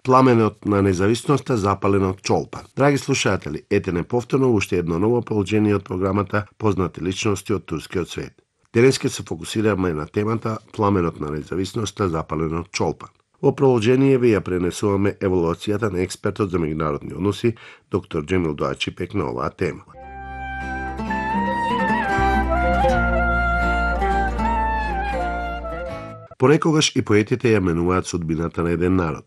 Пламенот на независноста запален од Чолпан. Драги слушатели, ете неповторно уште едно ново положение од програмата Познати личности од турскиот свет. Денеска се фокусираме на темата Пламенот на независноста запален од Чолпан. Во продолжение ви ја пренесуваме еволуцијата на експертот за меѓународни односи, доктор Джемил Доачипек на оваа тема. Порекогаш и поетите ја менуваат судбината на еден народ.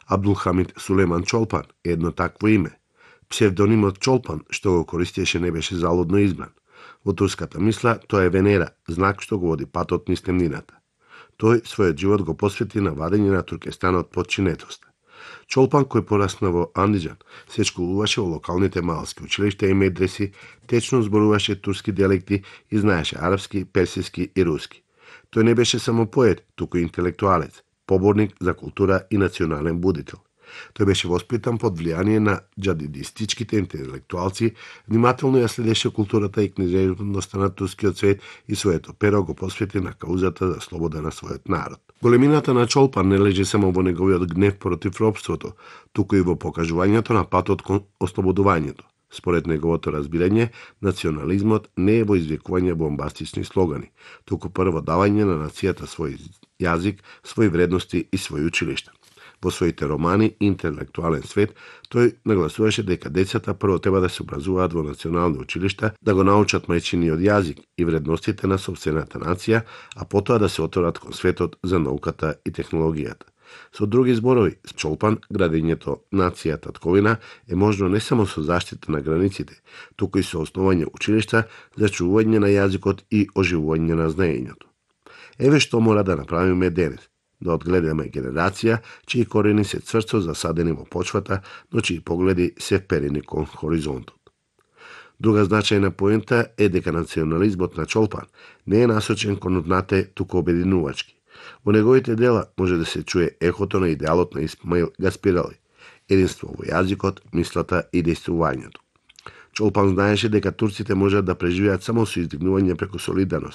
Абдулхамид Сулеман Чолпан е едно такво име. Псевдонимот Чолпан, што го користеше, не беше залудно избран. Во турската мисла, тоа е Венера, знак што го води патот низ темнината. Тој својот живот го посвети на вадење на Туркестан од подчинетост. Чолпан, кој порасна во Андиџан, се школуваше во локалните малски училишта и медреси, течно зборуваше турски диалекти и знаеше арапски, персиски и руски. Тој не беше само поет, туку и интелектуалец, поборник за култура и национален будител. Тој беше воспитан под влијание на џадидистичките интелектуалци, внимателно ја следеше културата и книжевноста на турскиот свет и своето перо го посвети на каузата за слобода на својот народ. Големината на Чолпан не лежи само во неговиот гнев против робството, туку и во покажувањето на патот кон ослободувањето. Според неговото разбирање, национализмот не е во извикување бомбастични слогани, туку прво давање на нацијата свој јазик, своји вредности и своји училишта. Во своите романи Интелектуален свет, тој нагласуваше дека децата прво треба да се образуваат во национални училишта, да го научат мајчиниот јазик и вредностите на сопствената нација, а потоа да се отворат кон светот за науката и технологијата. Со други зборови, Чолпан, градењето нација татковина е можно не само со заштита на границите, туку и со основање училишта за чувување на јазикот и оживување на знаењето. Еве што мора да направиме денес. Да одгледаме генерација, чии корени се цврсто засадени во почвата, но чии погледи се вперени кон хоризонтот. Друга значајна поента е дека национализмот на Чолпан не е насочен кон однате, туку обединувачки. Во неговите дела може да се чуе ехото на идеалот на Исмаил Гаспирали, единство во јазикот, мислата и дејствувањето. Чолпан знаеше дека турците можат да преживеат само со издигнување преку солидарност,